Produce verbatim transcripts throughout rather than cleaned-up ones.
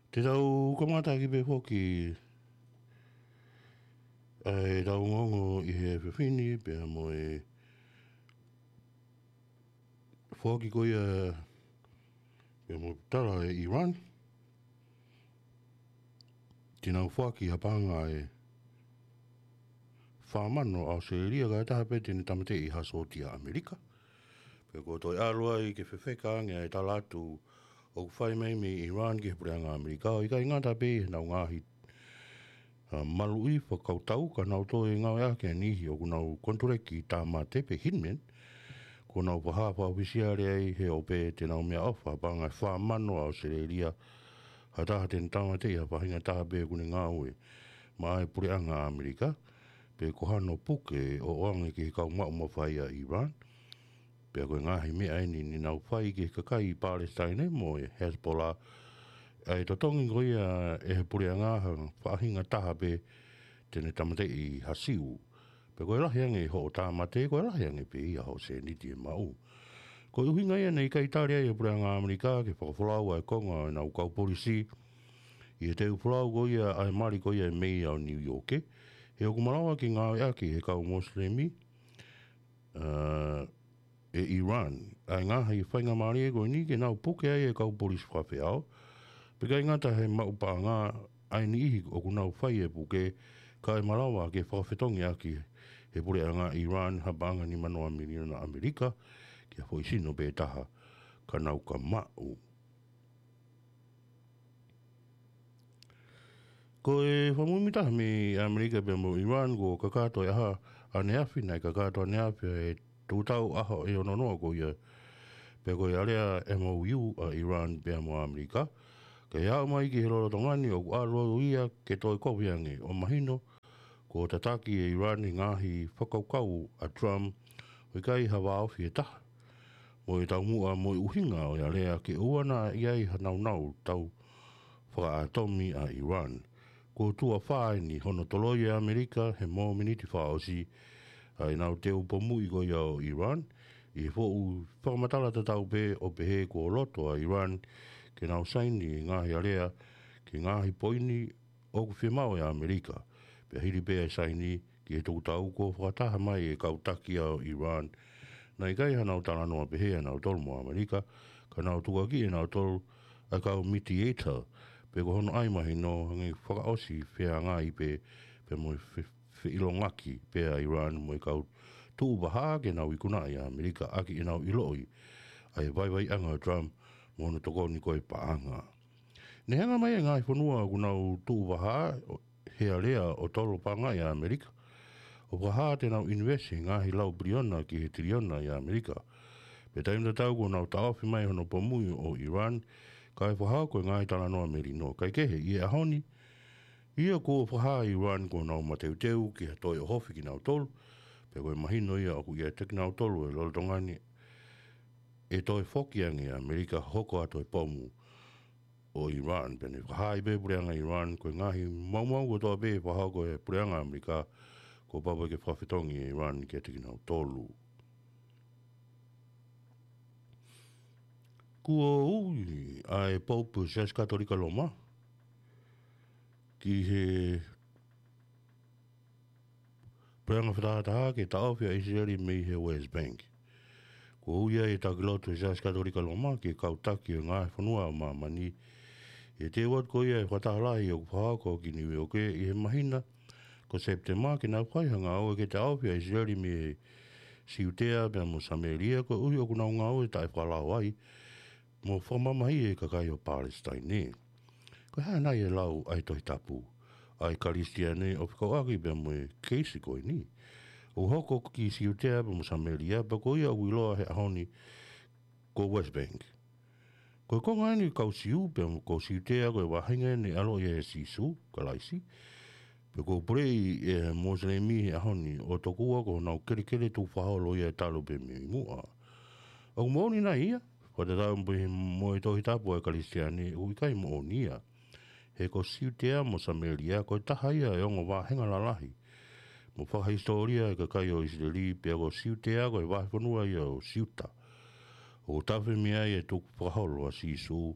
Te tau kamata ʻaki pē foki ʻa e tau ongoongo ʻi he efiafi ni, pea mo e foki ko ia, pea mo e tala ʻe ʻIran, te nau foaki ha paʻanga ʻe fā mano ʻAositelēlia kae taha pē te ne tāmateʻi ha sōtia ʻAmelika. Pea ko e toe ʻalu ai ke fefeka ange ʻa e tala atu ʻoku fai mai mei ʻIran ki he puleʻanga ʻAmelika, ʻo ʻikai ngata pē ʻi heʻenau ngaahi, ʻa, maluʻi fakakautau, ka nau toe ngāueʻaki ʻa e niʻihi ʻoku nau konituleki tāmate pe hitmen, kuo nau fakahā fakaʻofisiale ai he ʻoku pehē te nau meʻaʻofa ha paʻanga ʻe fā mano ʻAositelēlia ha taha te ne tāmateʻi ha faʻahinga taha pē ʻoku ne ngāue maʻa e puleʻanga ʻAmelika, pe ko hano puke ʻo ʻoange ki he kau maʻu mafai ʻa ʻIran. Pea ko e ngaahi meʻa eni ne nau fai ki he kakai ʻi Palesitaine mo e Hezbollah, ʻa e totongi ko ia ʻe he puleʻanga ha faʻahinga taha pē te ne tāmateʻi ha Siu. Pea ko e lahi ange hoʻo tāmate, ko e lahi ange pē ia hoʻo sēniti ʻe maʻu. Ko e ʻuhinga ia naʻe ʻikai tali ai ʻe he puleʻanga ʻAmelika ke fakafolau ʻa e konga ʻo ʻenau kau polisi ʻi he teu folau ko ia ʻa e mali ko ia ʻa e meia ʻo Niu ʻIoke, he ʻoku malava ke ngāueʻaki ʻe he kau Mosilemi, ʻa, ʻe ʻIran ʻa e ngaahi faingamālie ko eni ke nau puke ai e kau polisi fakafeʻao. Pea ʻikai ngata he maʻu paʻanga ʻa e niʻihi ʻoku nau fai e puke, ka ʻe malava ke fakafetongiʻaki ʻe he puleʻanga ʻIran ha paʻanga nima noa miliona ʻAmelika ki ha foʻi sino pē taha ka nau ka maʻu. Ko e fakamuimui taha mei ʻAmelika pea mo ʻIran, kuo kakato e ʻaho ʻaneafi, naʻe kakato ʻaneafi ʻa e tukutau ʻaho ʻe ono noa ko ia, pea ko e alea M O U ʻa ʻIran pea mo ʻAmelika, kae aʻu mai ki he lolotonga ni ʻoku ʻalu ia ke toe kovi ange, ʻo mahino kuo tataki ʻe ʻIran e ngaahi fakakaukau ʻa Trump ʻo ʻikai ha vāofi ʻe taha mo e taumuʻa mo e ʻuhinga ʻo e alea ke ʻoua naʻa ʻi ai ha naunau tau fakaʻatomi ʻa ʻIran. Kuo tuʻo fā eni hono toloi ʻe ʻAmelika he mōmeniti fakaʻosi ʻa ʻenau teu pomuʻi ko ia ʻo ʻIran, ʻi he foʻi fakamatala tatau pē ʻo pehē kuo loto ʻa ʻIran ke nau saini e ngaahi alea ki he ngaahi poini ʻoku fiemaʻu ʻe ʻAmelika. Pea hili pē ʻa e saini ki he tukutau, kuo fakataha mai e kau taki ʻo ʻIran naʻe ʻikai hanau talanoa pehē ʻanautolu mo ʻAmelika, ka nau tukuakiʻi ʻe nautolu ʻa e kau mediator, pe ko hono ʻai mahino hangē fakaʻosi feangai pē, pea mo e fe-, feʻilongaki pē ʻa ʻIran mo e kau tuʻu vahaʻa ke nau ikunaʻi ʻa ʻAmelika ʻaki ʻenau ʻiloʻi ʻa e vaivaiʻanga ʻo Trump mo hono tokoni ko e paʻanga. Ne hanga mai e ngaahi fonua ʻoku nau tuʻu vahaʻa he alea ʻo tolo paʻanga ʻi ʻAmelika, ʻo fakahā te nau ʻinivesi he ngaahi lau piliona ki he tiliona ʻi ʻAmelika. Pea taimi tatau kuo nau taʻofi mai hono pomuʻi ʻo ʻIran, kae fakahoko e ngaahi talanoa melino. Kae kehe, ʻi he ʻaho ni, ʻio, kuo fakahā ʻe ʻIran kuo nau mateuteu ki ha toe ʻohofi kinautolu, pea ko e mahino ia ʻoku ʻiate kinautolu he lolotonga ni ʻe toe foki ange ʻa ʻAmelika hoko atu e pomu ʻo ʻIran. Pea ne fakahā ai pē puleʻanga ʻIran, ko e ngaahi maumau kotoa pē ʻe fakahoko ʻe he puleʻanga ʻAmelika, kuo pau pē ke fakafetongi ʻe ʻIran kiate kinautolu. Kuo ui ʻa e Pope Siasi Katolika Loma ki he puleʻanga fakatahataha ke taʻofi ʻa ʻIsileli mei he West Bank. Kuo ui ʻa e taki lotu ʻa e Siasi Katolika Loma ki he kau taki ʻo e ngaahi fonua ʻo māmani, ʻi he teu atu ko ia ʻa e fakataha lahi ʻoku fakahoko ki Niu ʻIoke ʻi he māhina ko Sepitema, ke nau fai ha ngāue ke taʻofi ʻa ʻIsileli mei he Siutea pea mo Samēlia, koeʻuhi ʻoku nau ngāue taʻefakalao ai mo fakamamahiʻi e kakai ʻo Palesitaine. Ko e hā nai e lau ʻa e Tohi Tapu ʻa e Kalisitiane ʻo fekauʻaki pea mo e keisi ko eni? ʻOku hoko ki Siutea pea mo Samēlia, pea ko ia ʻoku ʻiloa he ʻaho ni ko West Bank. Ko e konga eni kau Siu pea mo kau Siutea ko e vahenga eni ʻaloʻi ʻe Sīsū Kalaisi, pea ʻoku puleʻi ʻe he Mosilemi he ʻaho ni, ʻo tokua ko honau kelekele tukufakaholo ia talu pē mei muʻa. ʻOku moʻoni nai ia? Fakatatau mo e Tohi Tapu ʻa e Kalisitiane, ʻoku ʻikai moʻoni ia. He ko Siutea mo Samēlia ko e taha ia e ongo vahenga lalahi mo fakahisitōlia e kakai ʻo ʻIsileli, pea ko Siutea ko e vahefonua ia ʻo Siuta. ʻOku tafe mei ai e tukufakaholo ʻa Sīsū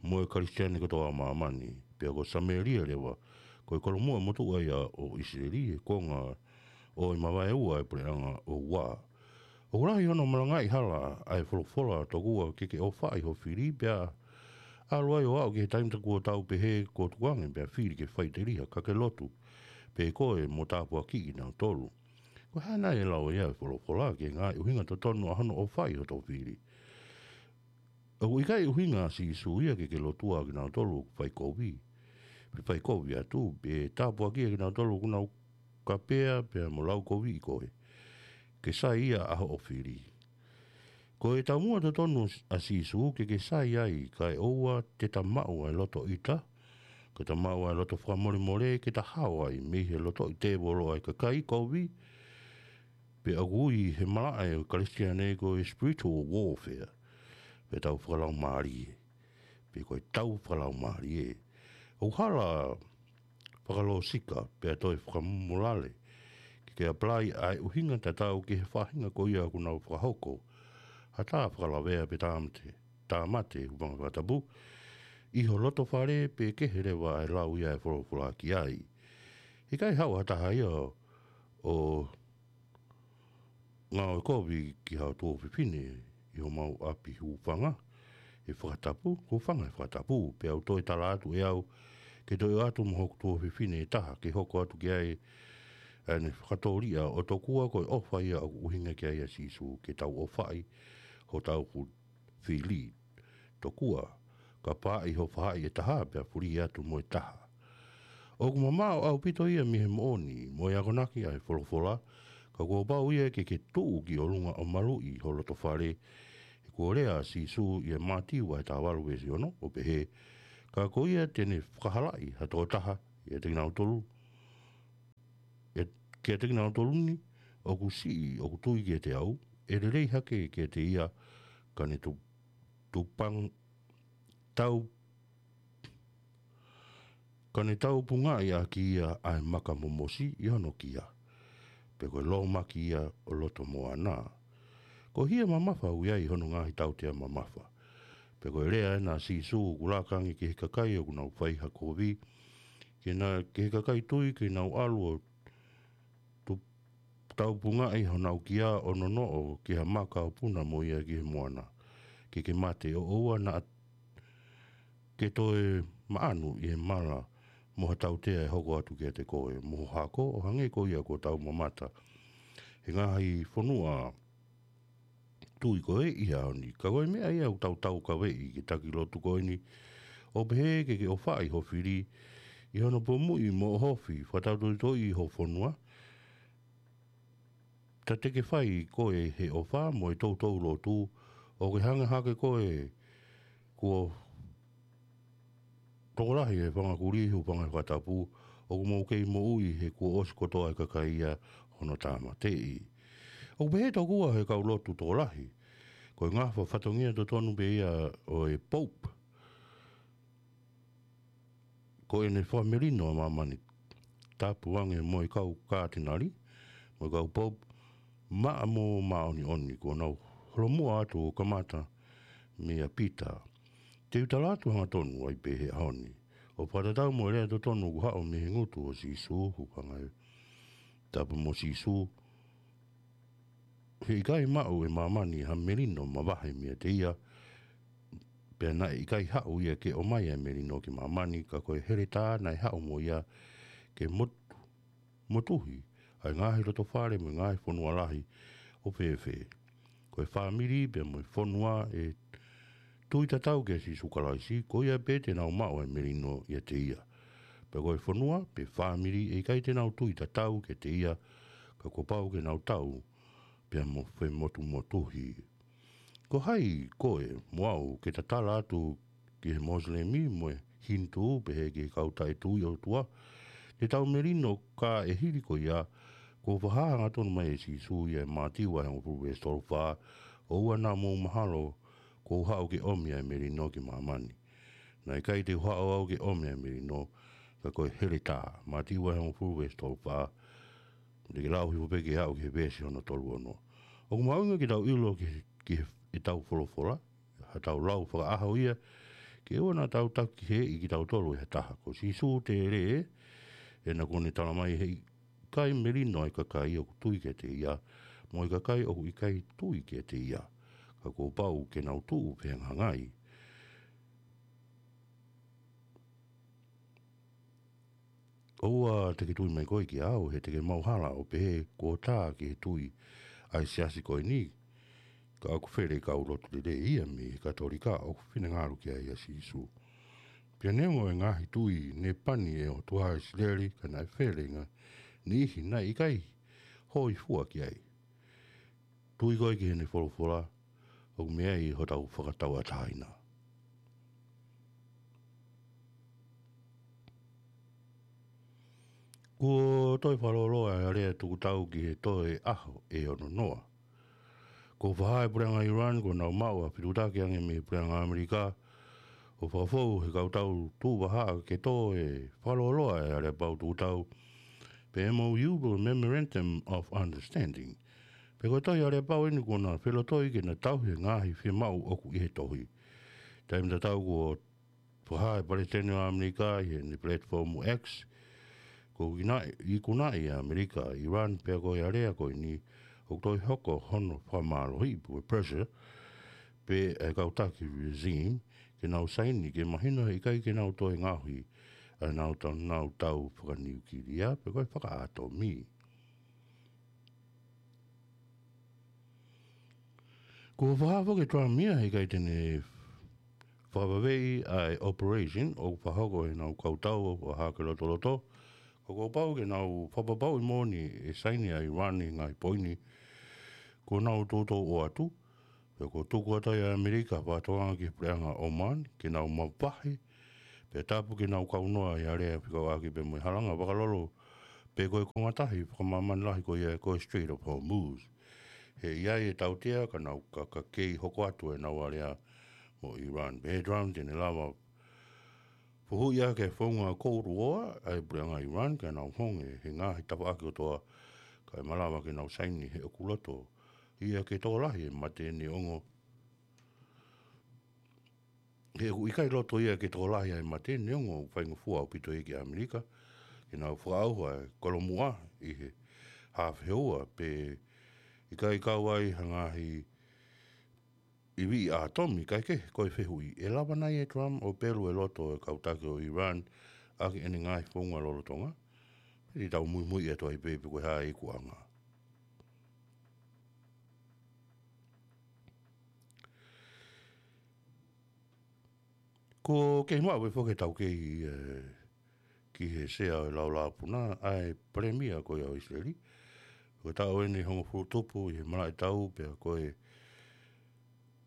mo e Kalisitiane kotoa ʻo māmani, pea ko Samēlia leva, ko e kolomuʻa motuʻa ia ʻo ʻIsileli, he konga ʻo e mavaeua ʻo e puleʻanga ʻo Ua. ʻOku lahi hono malangaʻi hala ʻa e folofola tokua ke ke ʻofaʻi ho fili, pea ʻalu ai ʻo aʻu ki he taimi tā kuo tau pehē kuo tukuange pea fili ke faʻiteliha ka ke lotu, pea ko e mo tāpuakiʻi kinautolu. Ko e hā nai e lau ia ʻa e folofola ki he ngaahi ʻuhinga totonu ʻa hono ʻofaʻi hoto fili? ʻOku ʻikai ʻuhinga ʻa Sīsū ia ke ke lotua kinautolu ʻoku fai kovi, pe fai kovi atu, pe tāpuakiʻi kinautolu ʻoku nau kapea pea mo laukoviʻi koe, ke sai ia ʻa hoʻo fili. Ko e taumuʻa totonu ʻa Sīsū ke ke sai ai, kae ʻoua te ta maʻu ʻa e loto ʻita, ke ta maʻu ʻa e loto fakamolemole, ke ta hao ai mei he lotoʻi tēvolo ʻa e kakai kovi, pea ʻoku ui he malaʻe ʻo e Kalisitiane ko e spiritual warfare, pe tau fakalaumālie, pe ko e tau fakalaumālie. ʻOku hala fakalōsika, pea toe fakamolale, ke ke apply ʻa e ʻuhinga tatau ki he faʻahinga ko ia ʻoku nau fakahoko ha tā fakalavea pe tāmate, tāmate, hūfanga he fakatapu, ʻi ho loto fale pe kehe leva ʻa e lau ia ʻa e folofola ki ai. ʻIkai haʻu ha taha ia ʻo ngāue kovi ki haʻo tuofefine ʻi homau ʻapi, hūfanga he fakatapu, hūfanga he fakatapu, pea u toe tala atu ʻe au ke toe ʻoatu mo hoku tuofefine ʻe taha ke hoko atu ki ai ʻa ʻene fakatōliʻa, ʻo tokua ko e ʻofa ia ʻoku ʻuhinga ki ai ʻa Sīsū, ke tau ʻofaʻi hotau fu-, fili. Tokua, kapau ʻe ʻi ho faʻahi ʻe taha, pea fuli atu mo e taha. ʻOku mamaʻo ʻaupito ia mei he moʻoni mo e akonaki ʻa e folofola, ka kuo pau ia ke ke tuʻu ki ʻolunga ʻo maluʻi ho loto fale, he kuo lea ʻa Sīsū ʻia Mātiu vahe taha valu veesi ono, ʻo pehē, ka ko ia te ne fakahalaʻi ha tokotaha ʻiate kinautolu, ʻe, kiate kinautolu ni ʻoku siʻi, ʻoku tui kiate au, ʻe lelei hake kiate ia, ka ne tu-, tupang-, tau, ka ne taupungaʻi ʻaki ia ʻa e maka momosi ʻi hono kia, pe ko e lōmaki ia ʻo loto moana. Ko e hia mamafa ʻoku ʻi ai hono ngaahi tautea mamafa. Pea ko e lea ena ʻa Sīsū ʻoku laka ange ki he kakai ʻoku nau fai ha kovi, ke na, ki he kakai tui ke nau ʻalu ʻo tu-, taupungaʻi honau kia ʻo nonoʻo ki ha maka ʻo puna mo ia ki he moana, ke ke mate, ʻo ʻoua naʻa ke toe maʻanu ʻi he mala mo ha tautea ʻe hoko atu kiate koe mo ho hako, ʻo hangē ko ia kuo tau mamata he ngaahi fonua tui ko ē ʻi he ʻaho ni. Ka ko e meʻa ia ʻoku tau taukaveʻi ki he taki lotu ko eni, ʻo pehē ke ke ʻofaʻi ho fili ʻi hono pomuʻi mo ʻohofi fakatautoitoi ho fonua. Ta te ke fai koe he ʻofa mo e toutou lotu, ʻo ke hanga hake koe kuo tokolahi e fanga kulī, hūfanga he fakatapu, ʻoku mou kei moʻui he kuo ʻosi kotoa e kakai ia hono tāmateʻi. ʻOku pehē tokua he kau lotu tokolahi, ko e ngafa fatongia totonu pē ia ʻo e Pope, ko ʻene fakamelino ʻa māmani, tapu ange mo e kau kātinali, mo e kau Pope, maʻa mo māʻoniʻoni, kuo nau holomuʻa atu ʻo kamata meia Pita. Te u tala atu hangatonu ai pē he ʻaho ni, ʻo fakatatau mo e lea totonu ʻoku haʻu mei he ngutu ʻo Sīsū, hūfanga he tapu mo Sīsū, he ʻikai maʻu ʻe māmani ha melino mavahe meiate ia, pea naʻe ʻikai haʻu ia ke ʻomai ʻa e melino ki māmani, ka ko e heletā naʻe haʻu mo ia ke motu-, motuhi ʻa e ngaahi loto fale mo e ngaahi fonua lahi ʻo fēfē. Ko e fāmili pea mo e fonua ʻe tui tatau kia Sīsū Kalaisi, ko ia pē te nau maʻu ʻa e melino ʻiate ia. Pea ko e fonua pe fāmili ʻe ʻikai te nau tui tatau kiate ia, ka kuo pau ke nau tau pea mo femotumotuhi. Ko hai koe mo au ke ta tala atu ki he Mosilemi mo e Hinitū, pehē ki he kau taʻetui ʻOtua, te tau melino, ka ʻi he hili ko ia, kuo fakahā hangatonu mai ʻe Sīsū ia ʻi Mātiu vahe hongofulu veesi tolu fā, ʻoua naʻa mou mahalo kuo u haʻu ke ʻomi ʻa e melino ki māmani. Naʻe ʻikai te u haʻu au ke ʻomi ʻa e melino, ka ko e heletā. Mātiu vahe hongofulu veesi tolu fā, te ke lau hifo pē ke aʻu ki he veesi hono tolu ono. ʻOku mahuʻinga ke tau ʻilo ki, ki he, ʻetau folofola, haʻatau lau fakaʻaho ia, Ke ʻoua naʻa tau taki heʻi kitautolu ʻe ha taha. Ko Sīsū tēlē, ʻena kuo ne tala mai he ʻikai melino ʻa e kakai ʻoku tui kiate ia, mo e kakai ʻoku ʻikai tui kiate ia. Ka kuo pau ke nau tuʻu fehangahangai. ʻOua te ke tui mai koe kiate au, he te ke mauhala ʻo pehē kuo tā ki he tui ʻa e siasi ko eni, ka ʻoku fele kau lotu lelei ia mei he Katolika ʻoku finangalo ki ai ʻa Sīsū. Pea neongo e ngaahi tui ne pani ʻe he ʻOtua ʻa ʻIsileli, ka naʻe fele ngaahi niʻihi naʻe ʻikai hōifua ki ai. Tui koe ki heʻene folofola, ʻoku meʻa ai hotau fakatauʻatāina. Kuo toe fakalōloa ʻa e alea tukutau ki he toe ʻaho ʻe ono noa. Kuo fakahā ʻe he puleʻanga Iran kuo nau maʻu ha fetuʻutaki ange mei he puleʻanga ʻAmelika, ʻo fakafou he kau tau tuʻu vahaʻa ke toe fakalōloa ʻa e aleapau tukutau, pe M O U pe Memorandum of Understanding. Pea ko e tohi aleapau eni kuo na felotoi ke na tauhi e ngaahi fiemaʻu ʻoku ʻi he tohi. Taimi tatau kuo fakahā ʻe he Palesiteni ʻo ʻAmelika ʻi heʻene platform X, kuo ikunaʻi, ikunaʻi ʻe ʻAmelika ʻa Iran, pea ko e alea ko eni ʻoku toe hoko hono fakamālohiʻi pe ko e pressure pē ʻa e kau taki regime ke nau saini, ke mahino he ʻikai ke nau toe ngaohi ʻa ʻenau tau, nau tau fakaniukilia pe ko e fakaʻatomi. Kuo fakahā foki ʻe Trump ia he ʻikai te ne fakavaveʻi ʻa e operation ʻoku fakahoko ʻe heʻenau kau tau ʻo fakahā ke lotoloto, ka kuo pau ke nau fakapapauʻi moʻoni ʻe saini ʻa Iran ʻi he ngaahi poini kuo nau toutou ʻoatu. Pea kuo tuku atu ai ʻe ʻAmelika ha fakatokanga ki he puleʻanga Oman ke nau mavahe, pea tapu ke nau kaunoa ʻi he alea fekauʻaki pea mo e halanga vakalolo, pe ko e konga tahi fakamāmani lahi ko ia ko e Strait of Hormuz. He ʻe ʻi ai e tautea ka nau ka, ka kei hoko atu ʻenau alea mo Iran. Pehē ʻe Trump te ne lava fuhuʻi ʻaki e founga Cold War ʻa e puleʻanga Iran, ka nau honge he ngaahi tafaʻaki kotoa, kae malava ke nau saini he ʻoku loto ia ke tokolahi e mate neongo, he ʻoku ʻikai loto ia ke tokolahi ʻa e mate neongo ʻoku faingofua ʻaupito ia ki ʻAmelika ke nau fakaʻauha e kolomuʻa ʻi he hā feua, pe ʻikai kau ai ha ngaahi ivi ʻātomi. Kae kehe, ko e fehuʻi, ʻe lava nai ʻe Trump ʻo pelu e loto ʻo e kau taki ʻo Iran ʻaki ʻene ngaahi founga lolotonga? Pea te tau muimui atu ai pē pe ko e hā e ikuʻanga. Kuo kei maʻu pē foki ʻe he taukei, ē, ki he sea ʻo e laulāpuna ʻa e palēmia ko ia ʻo ʻIsileli. Ko e taʻu eni ʻe hongofulu tupu ʻi he malaʻe tau, pea ko e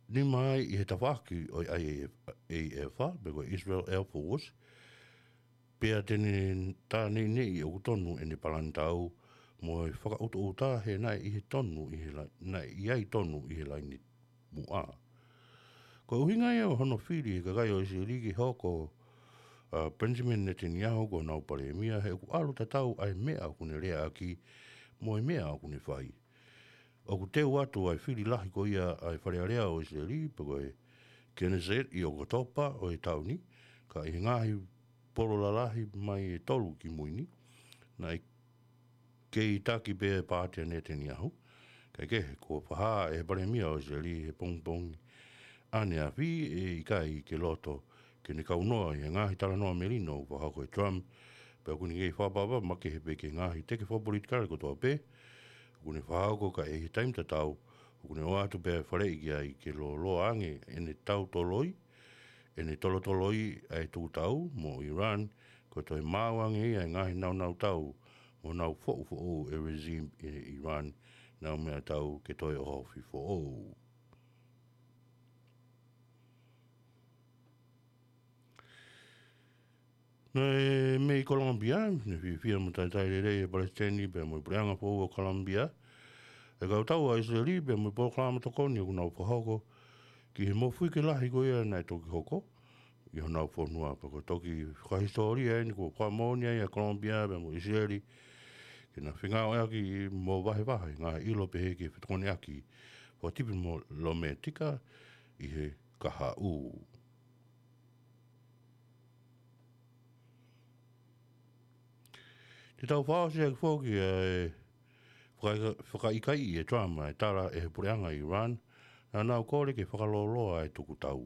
nima ai ʻi he tafaʻaki ʻo e I A F, A F, pe ko e Israel Air Force, pea te ne tā neʻineʻi ʻoku tonu ʻene palani tau mo e fakaʻutoʻuta he naʻe ʻi he tonu ʻi he la-, naʻe ʻi ai tonu ʻi he laini muʻa. Ko e ʻuhinga ia ʻo hono fili ʻe he kakai ʻo ʻIsileli ke hoko ʻa Benjamin Netanyahu ko honau palēmia, he ʻoku ʻalu tatau ʻa e meʻa ʻoku ne leaʻaki mo e meʻa ʻoku ne fai. ʻOku teu atu ʻa e fili lahi ko ia ʻa e Fale Alea ʻo ʻIsileli, pe ko e Knesset, ʻi ʻOkatopa ʻo e taʻu ni, ka ʻi he ngaahi polo lalahi mai ʻe tolu kimui ni, naʻe kei taki pē ʻa e paati ʻa Netanyahu. Kae kehe, kuo fakahā ʻe he palēmia ʻo ʻIsileli he pongipongi ʻaneafi ʻe ʻikai ke loto ke ne kaunoa ʻi he ngaahi talanoa melino ʻoku fakahoko ʻe Trump, pea ʻoku ne kei fakaʻapaʻapa makehe pē ki he ngaahi teke fakapolitikale kotoa pē ʻoku ne fakahoko, ka ʻi he taimi tatau ʻoku ne ʻoatu pē ʻa e faleʻi ki ai ke lōloa ange ʻene tautoloi, ʻene tolotoloi ʻa e tukutau mo Iran, ko e toe maau ange ia ʻa e ngaahi naunautāu mo nau foʻufoʻou e regime ʻi Iran, nau meʻatau ke toe ʻohofi foʻou. Naʻe mei Kolomupia, ne fiefia mo talitali lelei ʻe he palesiteni pea mo e puleʻanga foʻou ʻo Kolomupia ʻa e kau tau ʻa ʻIsileli pea mo e polokalama tokoni ʻoku nau fakahoko ki he mofuike lahi ko ia naʻe toki hoko ʻi honau fonua. Pea ko e toki fakahisitōlia eni kuo fakamoʻoni ai ʻa Kolomupia pea mo ʻIsileli ke na fengāueʻaki mo vahevahe ngaahi ʻilo pehē ki he fetokoniʻaki fakatipilometika ʻi he kahaʻu. Te tau fakaʻosi ʻaki foki ʻa e faka-, fakaʻikaiʻi ʻe Trump ʻa e tala ʻe he puleʻanga ʻi Iran naʻa nau kole ke fakalōloa ʻa e tukutau.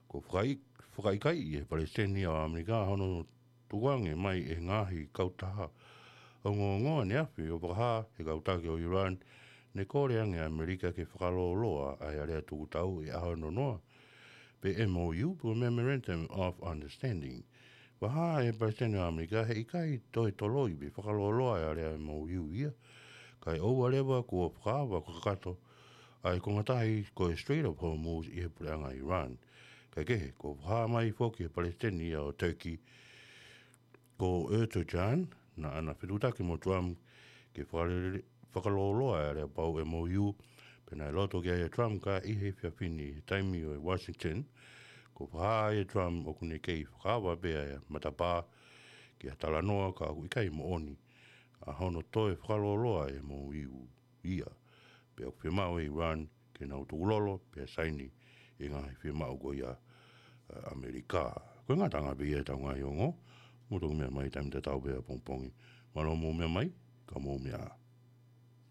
Ko e fakaʻi-, fakaʻikaiʻi ʻe he palesiteni ʻo ʻAmelika hono tukuange mai ʻe he ngaahi kautaha ongoongoa ne afe ʻo fakahā ʻe he kau taki ʻo Iran ne kole ange ʻa ʻAmelika ke fakalōloa ʻa e alea tukutau ʻi he ʻaho noa noa, pe M O U, pe ko e Memorandum of Understanding. Fakahā ʻe he palesiteni ʻo ʻAmelika he ʻikai toe toloi pe fakalōloa ʻa e alea M O U ia, kae ʻoua leva kuo fakaava kakato ʻa e konga tahi ko e Strait of Hormuz ʻi he puleʻanga ʻi Iran. Kae kehe, kuo fakahā mai foki ʻe he palesiteni ia ʻo Turkey, ko Erdogan, naʻa na fetuʻutaki mo Trump ke fakalele-, fakalōloa ʻa e aleapau M O U, pea naʻe loto ki ai ʻa Trump, ka ʻi he efiafi ni he taimi ʻo e Washington, kuo fakahā ʻe Trump ʻoku ne kei fakaava pē ʻa e matapā ki ha talanoa, ka ʻoku ʻikai moʻoni ʻa hono toe fakalōloa ʻa e M O U ia. Pea ʻoku fiemaʻu ʻe Iran ke nau tukulolo pea saini ʻi he ngaahi fiemaʻu ko ia ʻa ʻAmelika. Ko e ngataʻanga pē ia ʻetau ngaahi ongo, mou toki meʻa mai taimi tatau pē ʻapongipongi. Mālō mou meʻa mai, ka mou meʻa ā.